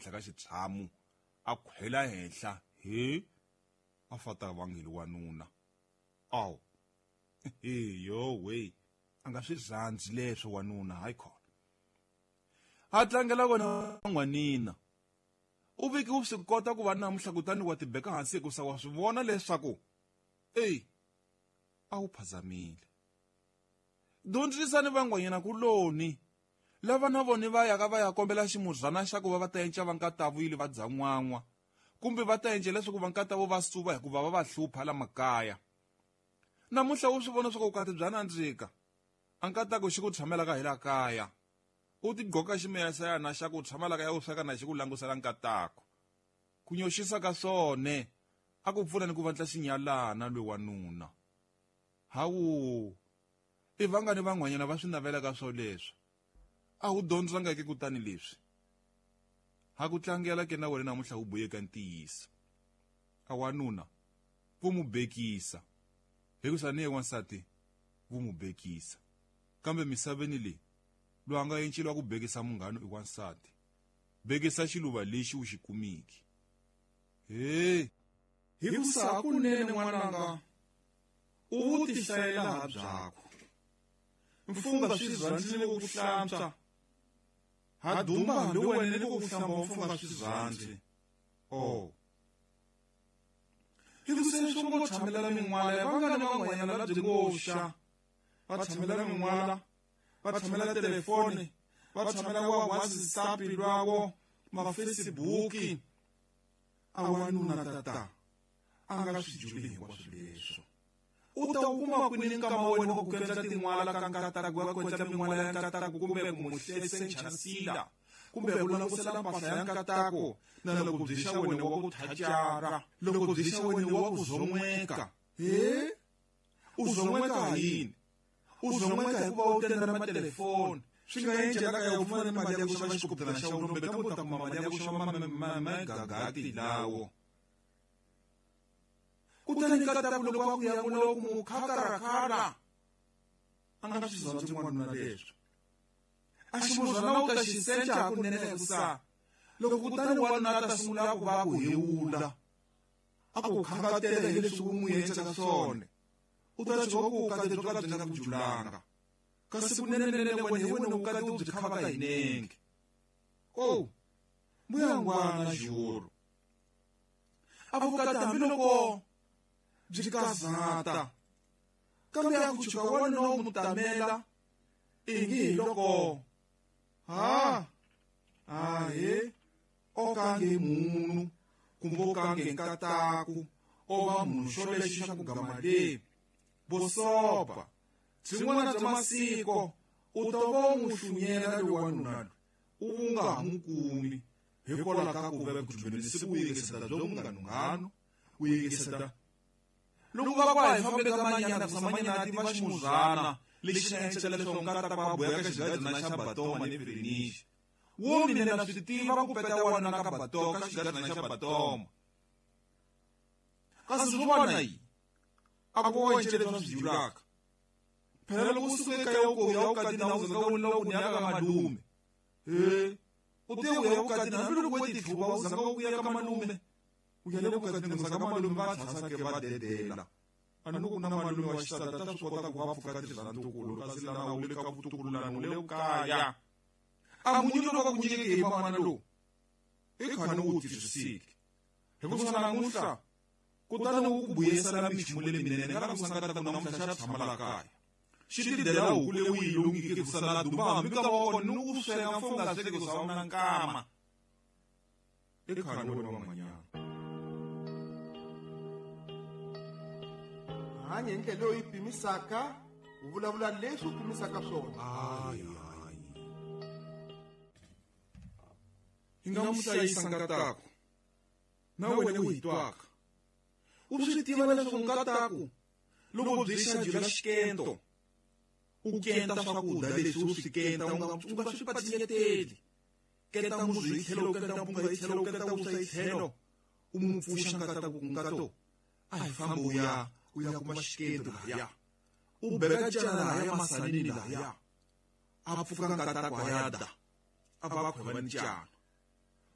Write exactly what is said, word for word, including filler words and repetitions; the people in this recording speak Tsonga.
henhla ka xitshamu a khwela henhla he a fata vangeli wanuna aw he yo we a nga swi rhandzi leswo wanuna hayi khona a tlangela wena n'wanina u viki u swi kota ku va namuntlha kutani wa tibeka hansi hikusa wa swi vona leswaku eyi a wu phazamile dyondzisani van'wanyana kuloni lava na vona va yaka va ya kombela ximuzana xa ku va va ta enca va nkatavuyile va dya n'wan'wa kumbe va ta enca leswaku va nkatavo va suva hikuva va va hlupha la makaya namuntlha u swi vona leswaku vukati bya nandzika a nkatako xi ku tshamela ka hi la kaya u tigqoka ximeyasayana xa ku tshamela ka ya u sweka na xi ku langusela nkatako ku nyoxisa ka swone a ku pfuna ni ku vandla xinyalana lwe wanuna hawu i vangani van'wanyana va swi navelaka swoleswo a wu dyondzanga ke kutani leswi ha ku tlangela ke na wena namuntlha wu buyeka ntiyiso a wanuna vo mu bekisa hikusa ni ye wansati vo mu bekisa kambe misaveni leyi loyi a nga enceliwa ku bekisa munghana i wansati bekisa xiluva lexi u xi kumiki he hikusa hakunene n'wananga u wu tihlayela ha byakho mfunga swi rhandzile ni ku ku hlantswa ha duma hambi wena ni ku ku hlamba mfunga swi rhandzi oh hikusa leswo ngo tshamela min'wala ya vangani van'wanyana la byi ngo xa va tshamela min'wala va tshamela telefoni va tshamela wa WhatsApp lwawo ma-Facebook a wanuna tata a nga swi juli hinkwaswo leswo u ta wu kuma kwini nkama wena wa ku endla tin'wala ka nkataku wa ku endla min'wala ya nkataku kumbe ku mu hlesenchasila kumbe ku langusela mpahla ya nkatako na loko byi xa wena wa ku thacara loko byi xa wena wa ku zon'weka he u zon'weka ha yini u zon'weka hikuva u tenda na matelefoni swi nga encela ka ya u pfumala mali ya ku xava xikoputana xa wena kumbe kambe u ta kuma mali ya ku xava magagati lawo kutani nkataku loko a ku ya vula ku mu khakarakara a nga swi rhandzi n'wanuna leswo a ximuzana u ta xi senca hakunene hikusa loko kutani wanuna a ta sungula ku va ku hewula a ku khangatela hi leswi u n'wi endlaka swona u ta tshuka ku vukati byo ka byi nga ku julanga kasi kunenenene wena hi wena vukati u byi khavaka hi nenge o mbuyangwana juru a vukati hambiloko byi kazata kambe a ku tshuka wanuna u mu tamela ingi hi loko ha ahe o kange munhu kumbe o kange nkataku o va munhu xo lexi xa ku gama le bosopa byin'wana bya masiko u ta va u n'wi hlunyela loyi wanuna loyi u wu nga ha n'wi kumi hikwalaho ka ku va ku dyondzise ku yingisela byo munghanunghanu ku yingisela loko va kwa hi fambe ka manyana kusa manyana a tiva ximuzana lexi xi encela leswaku nkata kwa boya ka xigadzana xa batoma ni firinixi wo mina na swi tiva ku peta wanuna ka batoma ka xigadzana xa batoma kasi swo vona yi a ku wa encela leswi swi julaka phela loko u suka ekaya u ku ya vukatini a wu zanga u lava ku ni ya ka malume he u te u ya vukatini hambiloko we tihluva u zanga u ya ka malume u ya le vukatini ku zanga malume va tshasa ke va dedela a ni ku na malume wa xisati ta swi kota ku va pfuka tirhisa ntukulu kasi lana u le ka vutukululani u le kaya a munyu loko va ku nyikeke hi man'wana lowu i khani u wu twisisiki hikusa namuntlha kutani wu ku buyisela minchumu leyi minene nga la ku sangata ku namuntlha xa tshama la kaya xi tidela huku leyi u yi lungike ku sala dumba hambi nkama wa kona ni ku sweka mfo nga sweki ku sa na nkama i khani wena van'wanyana hanya hi ndlela leyi u yi pimisaka u vulavula leswi u pimisaka swona hayi hayi hi nga mu hlayisa nkataku na wena u hi twaka u swi tiva leswaku nkataku loko byi xa jula xikento u kenta swakudya leswi u swi kenta u nga u nga swi patinyeteli kenta muzu hi tlhelo u kenta mpunga hi tlhelo u kenta vuswa hi tlhelo u mu pfuxa nkataku ku nkato a hi fambi u ya u ya kuma xikento lahaya u beka cana lahaya masanini lahaya a pfuka nkataku a ya da a va khweva ni cana